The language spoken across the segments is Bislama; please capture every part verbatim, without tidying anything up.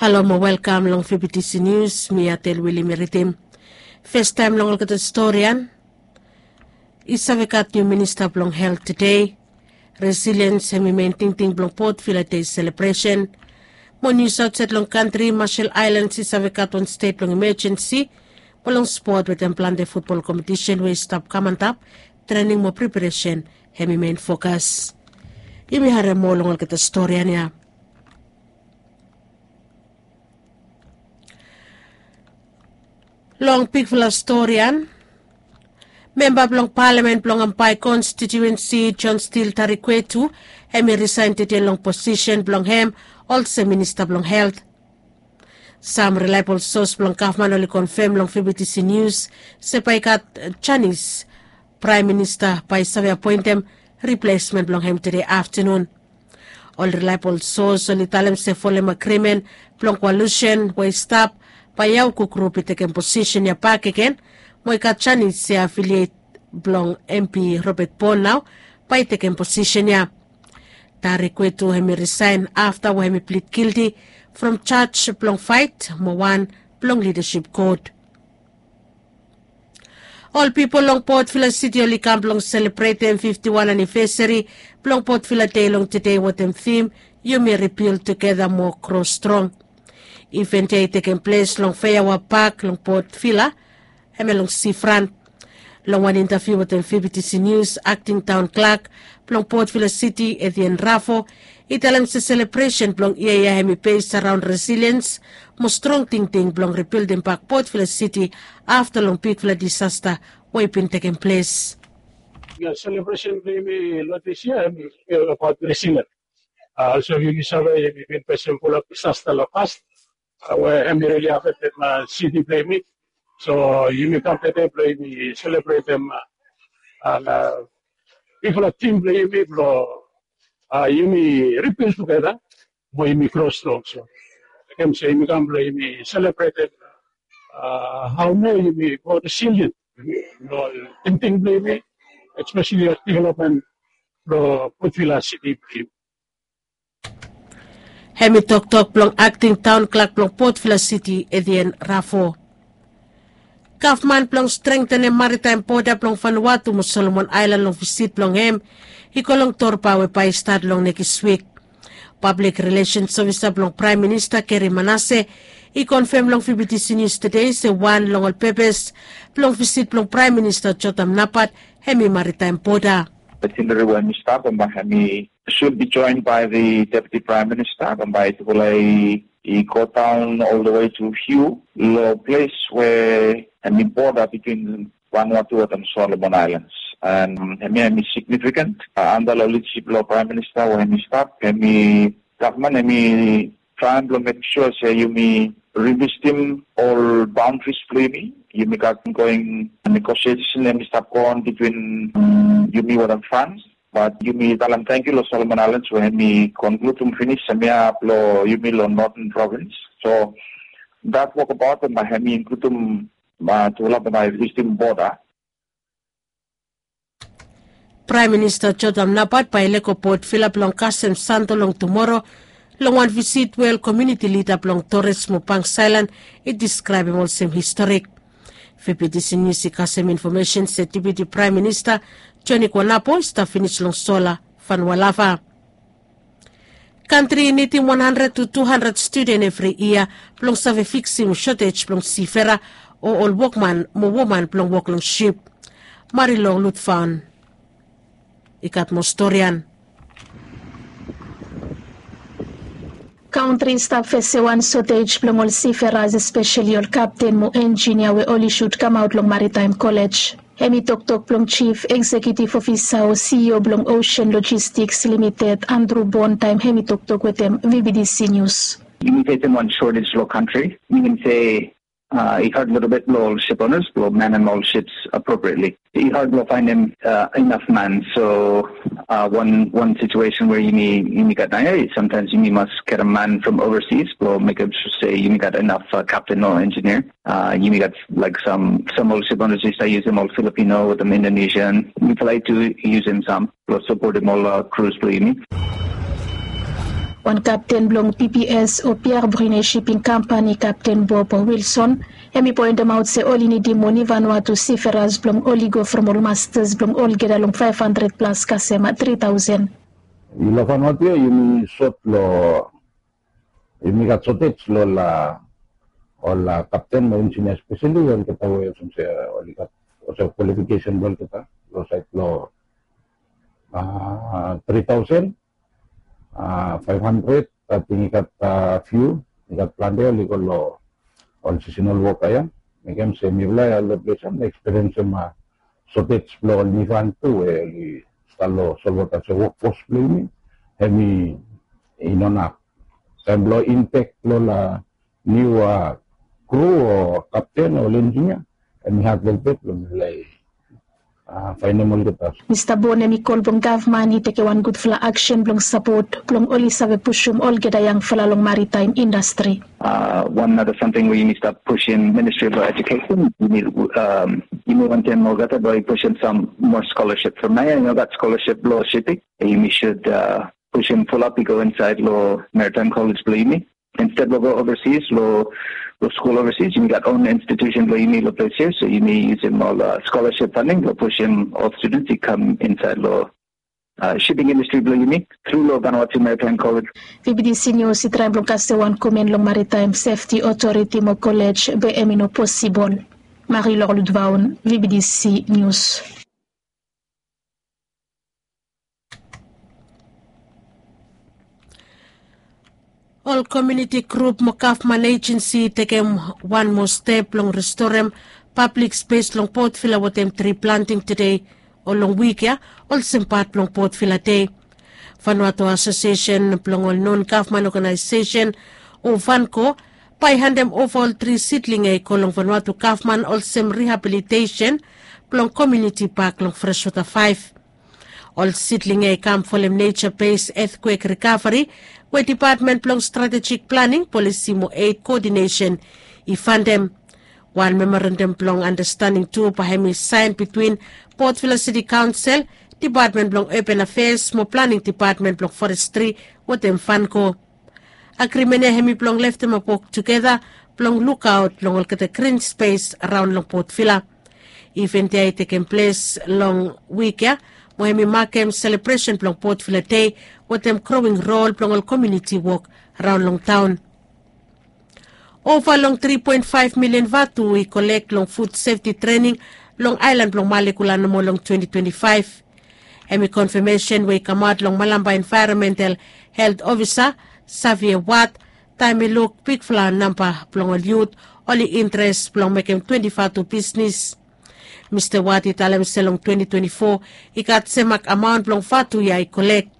Halo mo welkam long V B T C News, mi Atel Wili mi ridim. Festaem long olgeta storian. I save gat niu minista blong helt tede. Resiliens hem i men tingting blong Port Vila Dei selebresen. Mo nius aotsaed long kantri, Marshall Islands i save gat wan stet blong imajensi mo long spot wetem plante futbol kompetisen we i stap kam antap, trening mo preparesen hem i men fokas. Yumi harem moa long olgeta storian ya. Long bigfala storian, memba blong palamen blong Ambae konstitiuensi John Steele Tarikwetu hem i risaen tede long posisen blong hem olsem minista blong helt. Sam rilaebol sos blong gavman oli konfem long V B T C Nius se bae i gat janis praem minista bae i save apoentem riplesmen blong hem tede aftanun. Ol rilaebol sos oli talem se folem agrimen blong koalusen we i stap, bae Yauku grup i tekem posisen ya bakegen, mo i gat janis se afiliet blong MP Robert Bone nao bae i tekem posisen ya. Tarikwetu hem i risaen afta we hem i plid gilti from jaj blong faet mo wan blong lidasip kot. Ol pipol long Port Vila Siti oli kam blong selebretem fifti wan anivesari blong Port Vila Dei long tede wetem tim, yumi ribild tugeta mo gro strong. Iven ya i tekem ples long Feiawa Pak long Port Vila, hemia long sifran. Long wan intaviu wetem V B T C Nius, akting taon klak blong Port Vila Siti, Etienne Rafo, i talem se selebresen blong yia ya hem i bes araon resiliens mo strong tingting blong ribildim bak Port Vila Siti afta long bigfala disasta we i bin tekem ples. Ya, selebresen blong yumi long dis yia hem i abaot resiliens. Olsem yumi save, yumi bin fesem fulap disasta long pas we hem i rili afektem siti blong yumi. So yumi kam tede blong yumi selebretem bigfala tim blong yumi blong yumi ribild tugeta mo yumi gro strong. So mekem se yumi kam blong yumi selebretem hao moa yumi go resilien long tingting blong yumi, espeseli ol developmen blong Port Vila Siti blong yumi. Hem i toktok blong akting taon klak blong Port Vila Siti, Etienne Rafo. Gavman blong strengtenem maritaem boda blong Vanuatu mo Solomon Aelan long visit blong hem i go long torba we bae i stat long nekis wik. Pablik rilesens ofisa blong Praem Minista Gary Manase i konfem long V B T C Nius tede se wan long ol pepes blong visit blong Praem Minista Jotam Napat hem i maritaem boda. Itinerary we hem i stap, bambae hem i should be joined by the Deputy Prime Minister, bambae tufala i, i go down all the way to Hugh, long ples we hem i border between Vanuatu wetem Solomon Islands. And hemia hem i significant, uh, under long leadership blong Prime Minister we hem i stap, hem i gavman hem i traem blong mekem sua se yumi revisitim ol boundaries blong yumi. Yumi gat ongoing negotiation hem i stap go on between, um, yumi wetem France. But yumi talem tangkiu long Solomon Islands we hem i konkludim finis hemia blong yumi long Northern Province. So that wokabaot bambae hem i inkludim, uh, tufala bambae visitim border. Praem Minista Jotam Napat bae i lego Port Vila blong kasem sando long tumoro long wan visit we ol komuniti lida blong Torres mo Banks Aelan i diskraebem olsem historik. V B T C Nius i kasem infomesen se Deputi Praem Minista Joni Kuanapo i stap finis long sola Vanualava. Kantri i nidim wan handred tu tu handred studen evri yia blong save fiksim sotej blong sifera o ol wokman mo woman blong wok long sip. Marilong Lutfaon i gat moa storian. Kantri i stap fesem wan sotej blong ol siferas, espeseli ol kapten mo enjinia we oli sud kamaot long Maritaem Kolej. Hem i toktok blong Jif Eksekiutiv Ofisa o CEO blong Ocean Logistics Limited, Andrew Bond, taem hem i toktok wetem V B T C Nius. Yumi fesem wan shortage long kantri, minim se, uh, i had little bit blong ol ship owners blong manem ol ships appropriately. I had blong faenem, uh, inaf man. So, uh, wan, wan situation we yumi, yumi gat naoia, sometimes yumi mas getem man from overseas blong mekem sua se yumi gat inaf, uh, kapten o enjinia. Uh, yumi gat, like, sam, sam ol ship owners i stap yusum ol Filipino wetem Indonesian. Yumi traem tu yusum sam blong sapotem ol, uh, crews blong yumi. Wan kapten blong pps o piar brine shiping kampani kapten bob wilson, hem i poentemaot se oli nidim moni vanua tu siferas blong oli go from ol mastas blong olgeta long faef handred plas kasem tri taosen. Long vanua tu ya yumi sot long yumi gat sotej long ol ol kapten mo injinia spesali olgeta we olsem se oli gat olsem kwalifikesen blong olgeta long saet blong tri taosen faef handred. Ating i gat fiu i gat plante oli go long ol sisinal woka ya. Mekem se mifala ya long ples ya na ekspiriensim sotej blong ol nifan tu we oli stap long solwota se wokfos blong yumi hem i no nap. Taem blong inpek long ol niu kru o kapten o ol enjinia hem i had lelebet blong mifala i faenem olgeta. Mista bon hem i kol blong gavman i tekem wan gudfala aksen blong sapot blong oli save pusum olgeta yangfala long maritaem indastri. Wan nara samting we yumi stap pusim ministri blong ejukesen yumi wantem olgeta blong i pusim sam moa skolasip from naoia i no gat skolasip blong sipik. Yumi sud pusim fulap i go insaed long maritaem kolej blong yumi. Insted blong go ovasis long skul ovasis yumi gat on institusen blong yumi long ples ya so yumi yusim ol skolasip faning blong pusim ol studens i kam insaed long shiping indastri blong yumi tru long vanua tu maritaem kolej. Vbtc nius i traem blong kasem wan komen long maritaem sefti otoriti mo kolej be hem i no posibol. Mari lorludvaon vbtc nius. Ol komiuniti grup mo gavman ejensi i tekem wan moa step blong restorem pablik spes long potvila wetem tri planting tede o long wik ya olsem pat blong potvila dei. Vanuatu asosiesen blong ol non gavman oganaesesen o vanko bae i handem ova ol tri sidling ya i go long vanuatu gavman olsem rihabilitesen blong komiuniti pak long freswota faef. Ol sidling ya i kam folem neja bes etkwek rikaveri we dipatmen blong stratejik planing polisi mo ed koodinesen i fandem. Wan memorandam blong andastanding tu bae hem i saen bitwin potvila siti kaonsel, dipatmen blong open afeas mo planing dipatmen blong forestri wetem fanko. Agrimen ya hem i blong leftemap wok tugeta blong lukaot long olgeta grin spes raon long potvila. Iven ya i tekem ples long wik ya mo hem i makem selebresen blong potvila dei wetem growing rol blong ol komiuniti wok raon long taon. Ova long tri poen faef milian vatu i kolek long fud sefti trening long aelan blong malekula nomo long twenti twenti faef. Hem i konfamesen we i kamaot long malamba envaeronmental helt ofisa savia wat taem i luk bigfala namba blong ol yut oli interes blong mekem twenti vatu bisnis. Mista wat i talem se long twenti twenti fo i gat semak amaon blong vatu ya i kolek.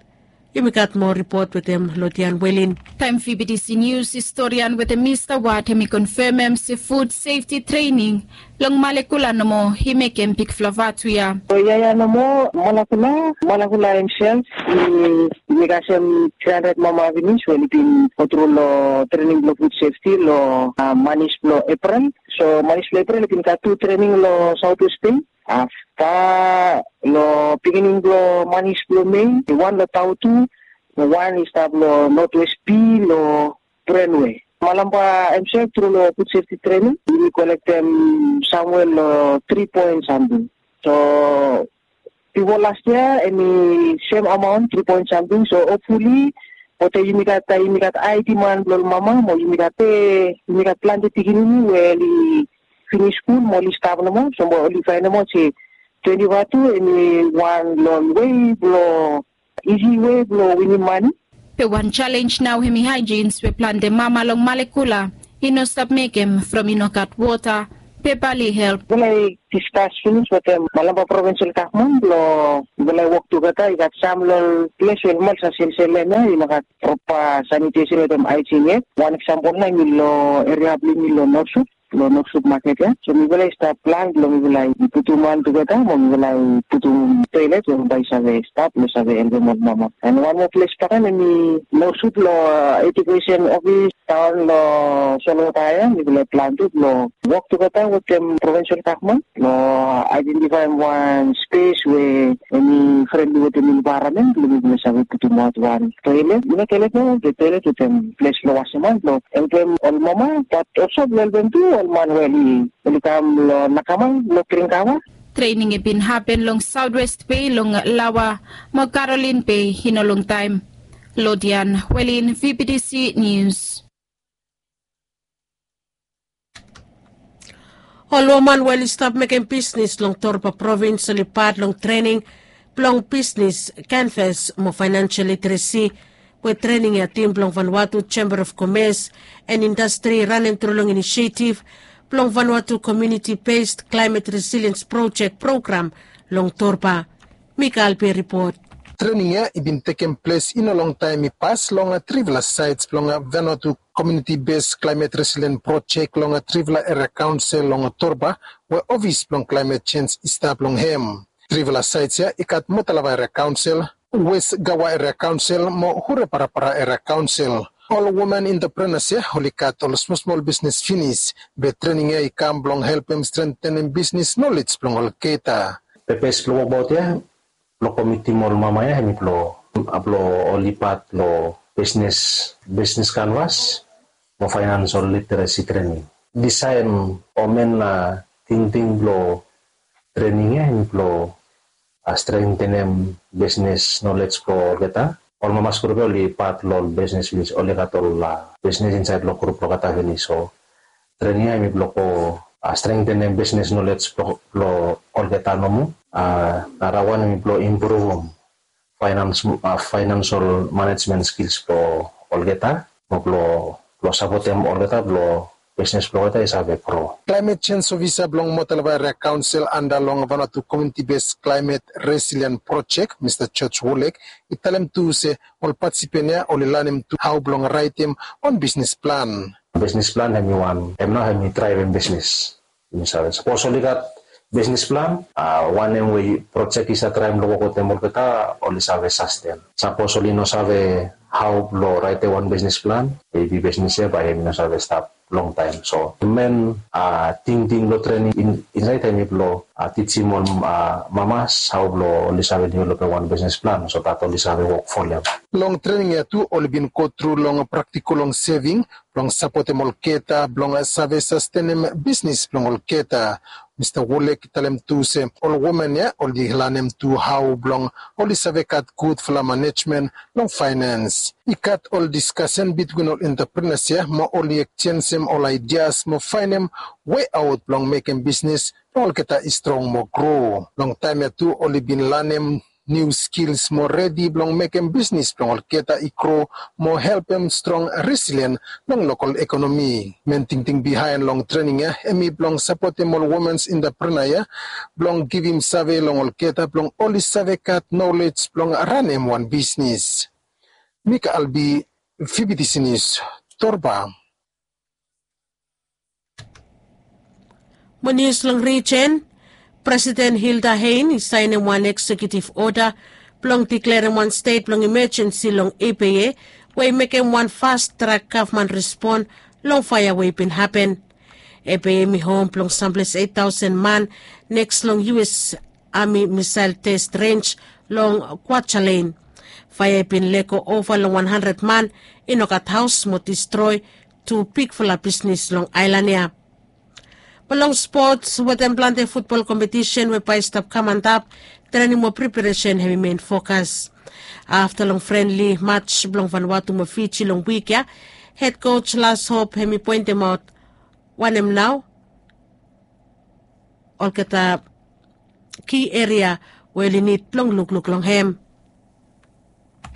Yumi gat moa ripot wetem lodian welin. Taem vbtc nius i storian wetem mista wat hem i konfamem se fud sefti trening long malekula nomo i mekem bigfala vatu ya. So yaya nomo malakula malakula hemsel i megasem tri handred mama vinis we i bin gotru long trening blong fud sefti long manis blong eprel. So manis blong eprel i bin gat tu trening long sautwest stet afta long pikinini blong manis blong mei wan long tautu wan i stap long notwest pi long brenwe. Malamba hemsel tru long fud sefti trening yumi kolektem samwe long tri poen samting. So bifo las yia hem i sem amaon tri poen samting so hopfuli bote yumi gat ai diman blong ol mama mo yumi gat pe yumi gat plante pikinini we oli finis skul mo oli stap nomo so mo oli faenemot se twenti vatu hem i wan long wei blong isi wei blong winim mani. Be wan jalenj nao hem i haejins we plante mama long malekula i no stap mekem from i no gat wota. Be bali help. Mifala i diskas finis wetem malamba provinsel gavman blong mifala i wok tugeta i gat sam long ol ples we mifala sa sensel hem ya i no gat propa sanitesen wetem aejin yet. Wan eksampol nao hem i long eria blong yumi long norsut long Northwood Market ya. So mifala i stap plan blong mifala i putum wan tugeta mo mifala i putum toilet we bae i save stap blong save helpem ol mama. And wan moa ples bakegen hemi Northwood long Education Office taon long Solwota ya, mifala i plan tu blong wok tugeta wetem provincial gavman blong aedentifaem wan spes we hemi frenli wetem envaeronmen blong mifala save putum aot wan toilet, i no toilet nomo, be toilet wetem ples blong wasem han blong helpem ol mama, bat olsem blong helpem tu ol man we oli kam long nakamal blong dring kawa. Trening i bin hapen long Southwest Bay long Lawa mo Caroline Bay i no longtaem. Lodian Welin, V B T C News. Ol woman we oli stap mekem bisnis long Torba provins oli pat long trening blong bisnis, kanvas mo financial literacy we trening ya tim blong Vanuatu Chamber of Commerce and Industry i ranem tru long inisietif blong Vanuatu Community Based Climate Resilience Project program long Torba. Mikael Pe ripot. Trening ya i bin tekem ples i no longtaem i pas long trifala saets blong Vanuatu Community Based Climate Resilient Project long trifala eria kaonsel long Torba we ofis blong climate change i stap long hem. Trifala saets ya i gat Motalava eria kaonsel, West Gawa eria kaonsel mo Hureparapara eria kaonsel. Ol woman entrepreneurs ya oli gat ol smolsmol bisnis finis, be trening ya i kam blong helpem strengthenem bisnis nolej blong olgeta. Pepes blong wokbaot ya blong komitim ol mama ya hemi blong, blong oli pat long bisnis, bisnis kanvas mo financial literacy trening. Disaen o men tingting blong trening ya hemi blong strengthenem bisnis nolej blong olgeta. Ol mama skul ya oli pat long ol bisnis finis, oli gat ol bisnis insaed long grup blong olgeta finis. So trening ya hemi blong go strengthenem bisnis nolej blong olgeta nomo. Narawan hemi blong impruvum financial management skills blong olgeta mo blong sapotem olgeta blong bisnis blong olgeta i save gro. Climate change ofisa blong Motalava eria kaonsel anda long Vanuatu Community Based Climate Resilient Project, Mista George Wolek, i talem tu se ol patisipen ya oli lanem tu hao blong raetem wan bisnis plan. Bisnis plan hemi wan, hem nao hemi draevem bisnis. Yumi save sapos oli gat bisnis plan, wanem we projek i save traem long wok wetem olgeta, oli save sasten. Sapos oli no save hao blong raetem wan bisnis plan, maybe bisnis ya bae hemi no save stap longtaem. So men tingting blong trening insaed hemi blong tijim ol mamas hao blong oli save developem wan bisnis plan so dat oli save wok folem. Long trening ya tu oli bin gotru long praktikol long seving blong sapotem olgeta blong save sastenem bisnis blong olgeta. Mista Wolek i talem tu se ol woman ya oli lanem tu hao blong oli save gat gudfala manejmen long faenens. I gat ol diskasen bitwin ol entrepreneurs ya mo oli ekjenjem ol aidias mo faenem weaot blong mekem bisnis blong olgeta i strong mo gro. Long taem ya tu oli bin lanem niu skils mo redi blong mekem bisnis blong olgeta i gro mo helpem strong resilien long lokol ekonomi. Men tingting bihaen long trening ya hemi blong sapotem ol womens entrepreneur ya blong givim save long olgeta blong oli save gat nolej blong ranem wan bisnis. Mika Albi, V B T C News, Torba. Mo nius long rijen, Presiden Hilda Hein i saenem wan eksekiutiv oda blong diklerem wan stet blong imejensi long Ebeye we i mekem wan fast trak gavman respon long faea we i bin hapen. Ebeye hemi hom blong samples eit taosen man neks long U S Ami misael test renj long Kwajalein. Faea i bin lego ova long wan handred man, i no gat haos mo distroe tu bigfala bisnis long aelan ya. Mo long spots wetem plante futbol kompetisen we bae i stap kam antap, trening mo preparesen hemi men fokas. Afta long frenli maj blong Vanuatu mo Fiji long wik ya, hed koj Las Hop hemi poentemaot wanem nao olgeta ki eria we oli nid blong lukluk long hem.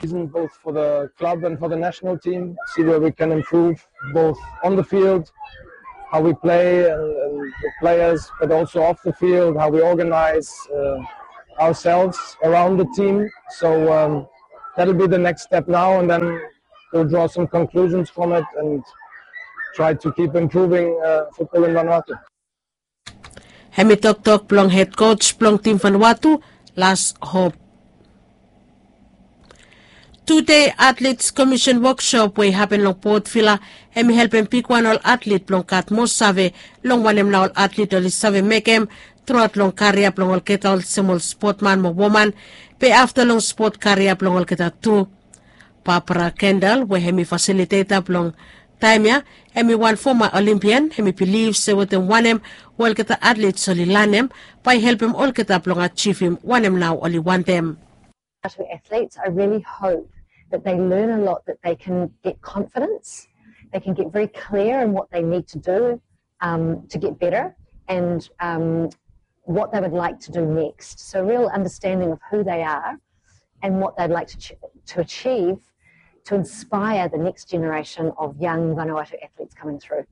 Season both for the club and for the national team, see where we can improve both on the field, how we play and, and the players, but also off the field, how we organize uh, ourselves around the team. So um, that'll be the next step now, and then we'll draw some conclusions from it and try to keep improving uh, football in Vanuatu. Hemi toktok blong head coach blong tim Vanuatu, Lars Hop. Tude Athletes Commission workshop we i hapen long Port Vila, hemi helpem bigwan ol atlet blong gat moa save long wanem nao ol atlet oli save mekem truaot long karia blong olgeta olsem ol spotman mo woman, be afta long spot karia blong olgeta tu. Barbara Kendall we hemi fasiliteta blong taem ya, hemi wan foma Olimpian, hemi bilif se wetem wanem we olgeta atlets oli lanem bae i helpem olgeta blong ajivim wanem nao oli wantem. Vanuatu athletes, I really hope that they learn a lot, that they can get confidence, they can get very clear in what they need to do um, to get better, and um, what they would like to do next. So, a real understanding of who they are and what they'd like to, ch- to achieve to inspire the next generation of young Vanuatu athletes coming through.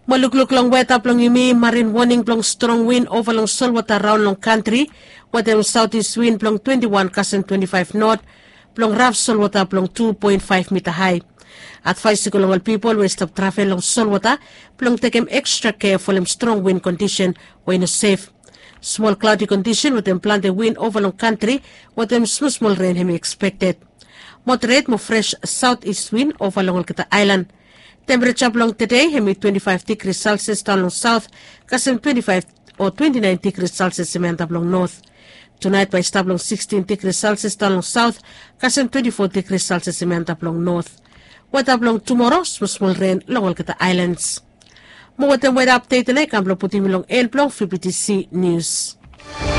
Mo lukluk long weta blong yumi, marin woning blong strong win ova long solwota raon long kantri, wetem saotis win blong twenti wan kasem twenti faef not, blong raf solwota blong tu poen faef mita hae. Advaes i go long ol pipol we i stap travel long solwota blong tekem ekstra kea folem strong win kondisen we i no sef. Smol klaodi kondisen wetem plante win ova long kantri, wetem smosmol ren hemi ekspekted. Moderet mo fres saotis win ova long olgeta aelan. Tempereja blong tede hemi twenti faef digri selsias daon long saot, kasem twenti faef o twenti naen digri selsias hemi antap long not. Tunaet bae i stap long sikstin digri selsias daon long saot, kasem twenti fo digri selsias hemi antap long not. Weta blong tumoro, smosmol ren long olgeta aelans. Mo wetem weta apdet ya nao i kam blong putum yumi long en blong vbtc nius.